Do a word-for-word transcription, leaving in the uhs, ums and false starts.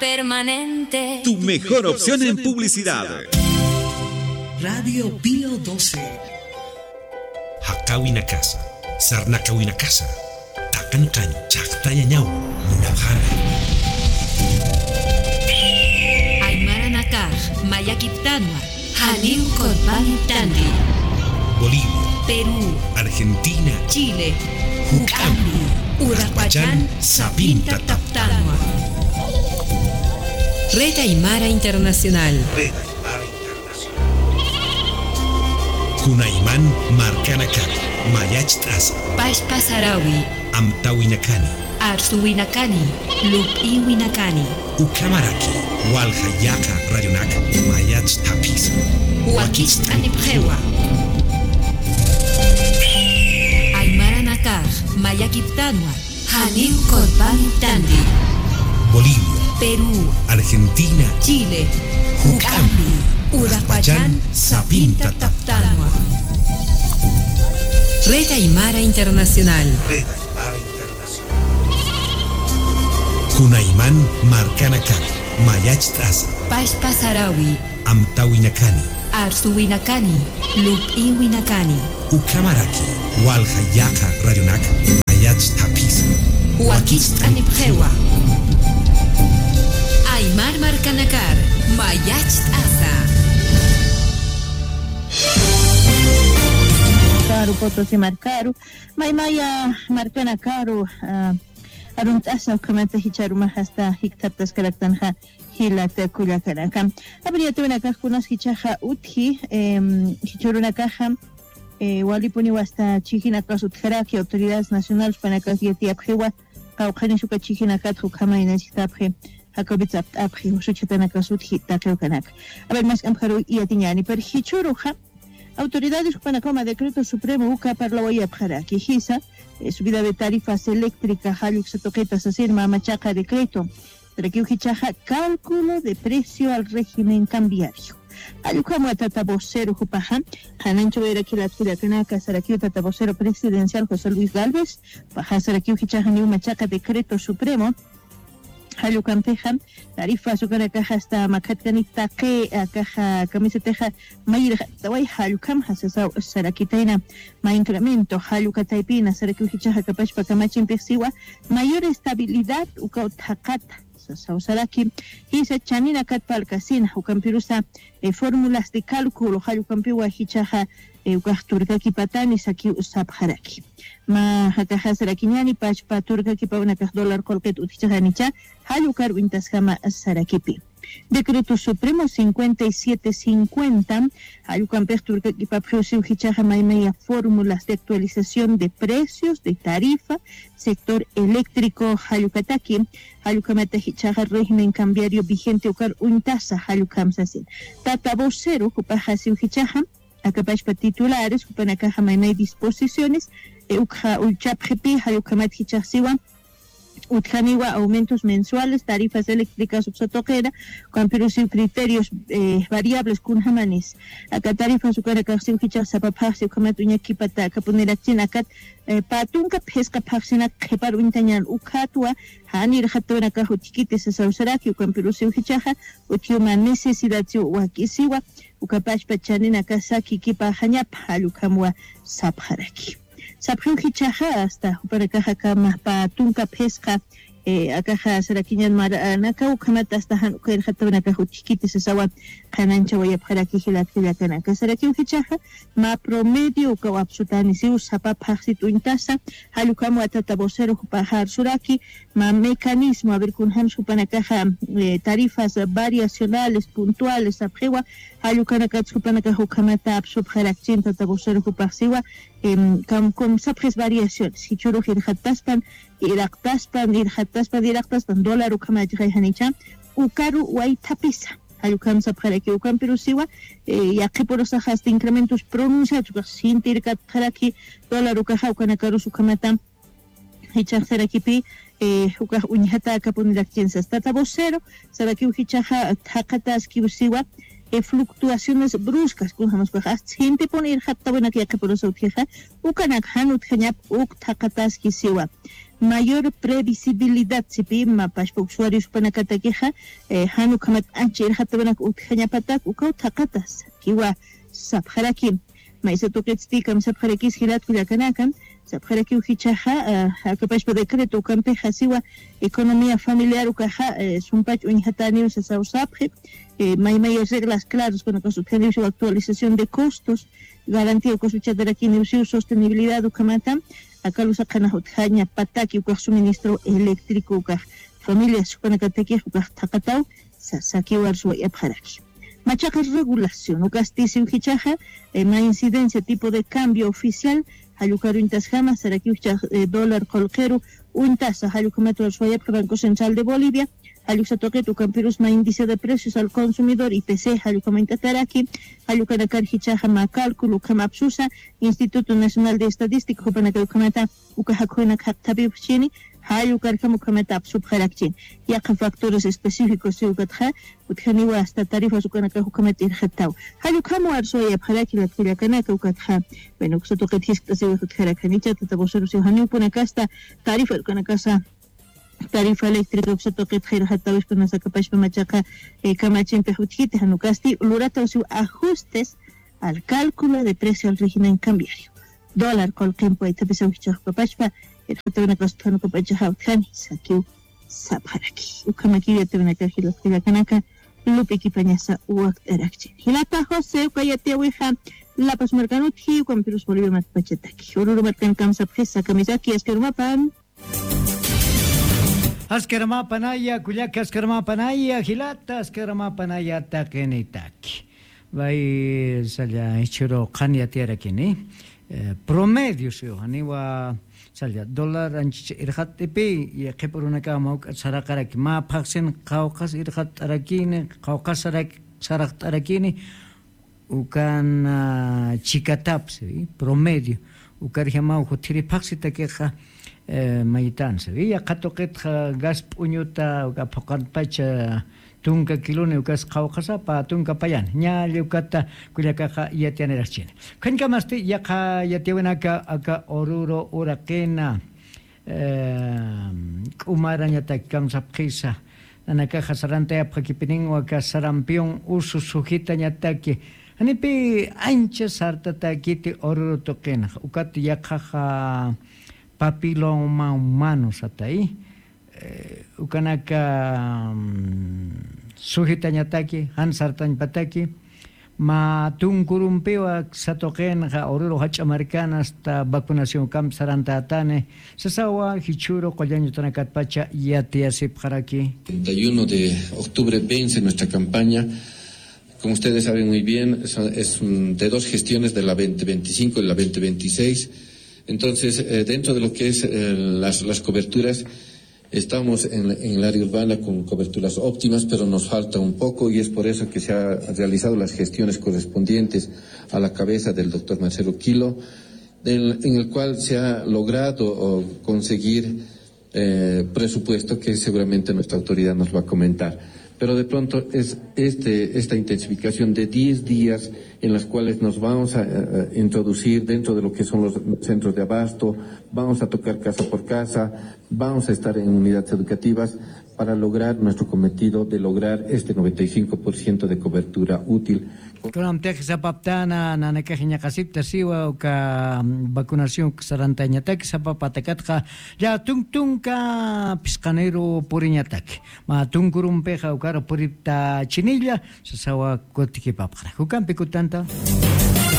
Permanente. Tu mejor opción en publicidad. Radio Pío doce. Jaqawinakasa, sarnaqawinakasa, taqanqani chaqtañañaw munapxana. Aymaranakax mayakiptanwa. Janiw qurpaniptandi. Bolivia, Perú, Argentina, Chile, juk'ampi, uraqpachan sapinta taptanwa. Red Aymara Internacional. Red Aymara Internacional. Kunayman markanakat mayacht'asa. Pachpa sarawi. Amtawinakani. Arsuwinakani, lup'iwinakani. Ukhamaraki, walja yaqa radionak mayacht'apxisa. Wakicht'anipxiwa. Aymaranakax mayakiptanwa, janiw qurpaniptandi. Bolivia, Perú, Argentina, Chile, juk'ampi, uraqpachan sapinta taptanwa. Red Aymara Internacional. Red Aymara Internacional. Kunayman markanakat mayacht'asa. Pachpa sarawi. Amtawinakani. Arsuwinakani. Lup'iwinakani. Ukhamaraki, walja yaqa radionak mayacht'apxisa. Wakicht'anipxiwa. Aymar markanakar mayacht'asa. Karu Potosí markaru, maymaya markanakaru, ah, arunt'asa ukhamata jichharumax asta jikthaptaskaraktanxa jilat kullakanaka. Abriyatiwinakax kunas jichhaxa utji, em, jichhürunakaxa, eh, walipuniw asta chijinakas utjaraki, autoridades nacionales jupanakax yatiyapxiwa, qawqhanis uka chijinakat ukhama inasiktapxi, Jacobit sapt'apxi, usuchhatanakas utji taqi ukanaka. A ver, mask'ampxaruw yatiñäni, pero jichhüruxa, autoridades jupanakaw mä decreto supremo uka parlawayapxaraki, jisa, eh, subida de tarifas eléctricas, jall uksa tuqita sasin mä machaqa decreto. Sarakiw jichhaxa cálculo de precio al régimen cambiario. Jall ukham tata vocero jupaxa, qhanañchawayaraki jilat kullakanaka, sarakiw tata vocero presidencial José Luis Gálvez, jupaxa sarakiw jichhaxa janiw machaqa decreto supremo, jall ukampixa, tarifas ukanakaxa asta makhatkanik taqi, akaxa kamisatixa mayirxataway jall ukamxa sasaw sarakitayna, mä incremento jall uka taypina, sarakiw jichhaxa akapachpa kamachimpix siwa, mayor estabilidad ukaw thaqata, sasaw saraki, jisa chaninakat parlkasina, ukampirusa, eh, fórmulas de cálculo, jall ukampiwa jichhaxa, eh, ukax turkakipatani sakiw sapxaraki. Mä jakaxa sarakiñäni, pachpa turkakipaw nakax dólar qullqit utjichixanicha, jall ukar uñtasjama sarakipi. Decreto Supremo cincuenta y siete cincuenta, jall ukampix turkakipapxiw siw jichhaxa maymaya fórmulas de actualización de precios de tarifa, sector eléctrico, jall ukataki, jall ukamata jichhaxa régimen cambiario vigente ukar uñtasa, jall ukham sasin. Tata vocero, jupaxa siw jichhaxa, akapachpa titulares, jupanakaxa maymay disposiciones, eh, ukxa ullchapxipi, jall ukhamat jichhax siwa, utjaniwa aumentos mensuales, tarifas eléctricas uksa tuqira, ukampirusiw criterios, eh, variables kunjamanis. Aka tarifas ukanakax siw jichhax sapa phaxsi ukhamat uñakipata akapunirakchin akat, eh, pä tunka phisqa phaxsinak qhipar uñtañän ukhatwa, jan irxatawinakax utjkiti sasaw saraki, ukampirusiw jichhaxa, utjiw mä necesidad siw wakisiwa, ukapachpa chaninakax sakikipaxañapa, jall ukhamwa sapxaraki. Sapxiw jichhaxa, asta jupanakaxa aka mä pä tunka phisqa, eh, akaxa sarakiñän maranakaw, ukhamata asta jan uka irxatawinakax utjkiti sasawa, qhanañchawayapxaraki jilat kullakanaka. Sarakiw jichhaxa, mä promedio ukaw apsutani siw sapa phaxsit uñtasa, jall ukhamwa tata vocero jupaxa arsuraki, mä mecanismo, a ver, kunjams jupanakaxa, eh, tarifas variacionales, puntuales, sapxiwa, jall ukanakats jupanakax ukhamata apsupxarakchin tata vocero jupax siwa, em, kam, kum sapxis variaciones, jichhürux irxataspan, iraqtaspan, irxataspan, iraqtaspan, dólar ukhamachixay janicha, ukaru waythapisa, jall ukham sapxaraki, ukampirusiwa, eh, yaqhipurusaxa asta incrementos pronunciados ukax sintirkatxaraki, dólar ukaxa ukanakarus ukhamata, jichhax sarakipi, eh, ukax uñjata akapunirakchin sas. Tata vocero, sarakiw jichhaxa thaqataskiw siwa, eh, fluctuaciones bruscas, kunjamas ukaxa, sintipun irxattawinaka yaqhipurasa utjixa, ukanak jan utjañap uk thaqataski siwa. Mayor previsibilidad sipi, mapashpa usuarios panakatakixa, eh, jan ukhamat ancha irxattawinaka utjañapatak, ukaw thaqatas, kiwa sapxaraki. Maysa tuqitsti kamsapxarakis jilat kullakanaka, sapxarakiw jichhaxa, ah, akapashpa decreto ukampixa siwa economía familiar ukaxa, eh, sumpach uñjataniw sasaw sapxi, eh, maymaya reglas claros, kunakas utjaniw siwa actualización de costos, garantía ukas uchatarakiniw siw sostenibilidad ukhamata, aka luzaqanax utjañapataki ukax suministro eléctrico ukax familias jupanakatakix ukax thaqataw, sasakiw arsuwayapxaraki. Machaqa regulación, ukasti siw jichhaxa, eh, ma incidencia tipo de cambio oficial, jall ukar uñtasjama, sarakiw jichhax, eh, dólar qullqiru uñtasa, jall ukhamat arsuwayapxi Banco Central de Bolivia, jall uksa tuqit ukampirus ma índice de precios al consumidor, I P C, jall ukham uñt'ataraki, jall ukanakar jichhaxa ma cálculo ukham apsusa, Instituto Nacional de Estadística, jupanakar ukhamata, uka jakhunak jaqthapiw jichhini, jall ukarjam ukhamata apsupxarakchi. Yaqha factores específicos siw ukatxa, utjaniwa hasta tarifas ukanakax ukhamat irxattaw. Jall ukham arsuwayapxaraki jilat kullakanaka ukatxa. Bueno, uksa tuqit jiskt'asiw utjarakanicha, tata vocero siw janiw upunakasta, tarifa ukanakasa, tarifa eléctrica uksa tuqitxa irxattawispa, nasa akapashpa machaqa, eh, kamachimpix utjiti, jan ukasti lurataw siw ajustes al cálculo de precio al régimen cambiario. Dólar qullqimpi waythapisaw jichhax ukapachpa, irxattawinakasta jan ukapachaxa utjani, sakiw sapxaraki. Ukhamakiw yatiyawinaka jilat kullakanaka, Lupe Quipañasa wakt'arakchi. Jilata José, uka yatiyawixa, La Paz markan utji, ukampirus Bolivia markpachataki. Oruro markan kamsapxisa, kamisaki, askarumapan. Askarumapanaya, kullaka askarumapanaya, jilata askarumapanaya, taqinitaki. Bay, salla, jichhüru qhan yatiyarakini. Eh, promedio, siw, janiwa, salla, dólar anchich irxat'ipi, yaqhipurunaka ma uk'at saraqaraki, ma phaxsin qawqhas irxat'arakini, qawqhas saraq-, saraqt'arakini, ukan, ah, chikatapsi, promedio. Ukarjamaw juthiri phaxsitakixa, eh, maytansi. Yaqha tuqitxa gas p'uñuta, uka phuqanpacha tunka kiloni, ukas qawqhasapa tunka payani. Ña lli ukata kullakaxa yatiyaniraxchini. Ukhañkamasti yaqha yatiyawinaka aka Oruro, Uraqina, eh, K'umarañataki kamsapxisa. Nanakaxa sarantayapxakipiniwa aka sarampión usu sujitañataki. Janipi ancha sartatakiti Oruro tuqinxa. Ukat yaqhaxa papiloma humano satay. Eh, ukanaka, mm, sujitañataki, jan sartañpataki, mä tunkurumpiwa satuqinxa Oruro jach'a markan hasta vacunación ukampi sarantätani, sasawa jichhüru qullañ utanakatpacha yatiyasipxaraki. Treinta y uno de octubre vence nuestra campaña. Como ustedes saben muy bien, son, es un, de dos gestiones, de la veinte veinticinco y la veinte veintiséis. Entonces, eh, dentro de lo que es, eh, las, las coberturas, estamos en, en el área urbana con coberturas óptimas, pero nos falta un poco y es por eso que se ha realizado las gestiones correspondientes a la cabeza del doctor Marcelo Quilo, del, en el cual se ha logrado, o, conseguir, eh, presupuesto que seguramente nuestra autoridad nos va a comentar. Pero de pronto es este, esta intensificación de diez días en las cuales nos vamos a, eh, introducir dentro de lo que son los centros de abasto, vamos a tocar casa por casa, vamos a estar en unidades educativas para lograr nuestro cometido de lograr este noventa y cinco por ciento de cobertura útil. Kunamtix sapaptana, nanakax iñaqasipta siwa, uka, mm, vacunación sarantañataki sapa patakatxa, ya tunk tunka phisqaniru puriñataki. Mä tunkurumpixa ukar puripta chinilla, sasawa kutikipapxra. Ukampi kutanta.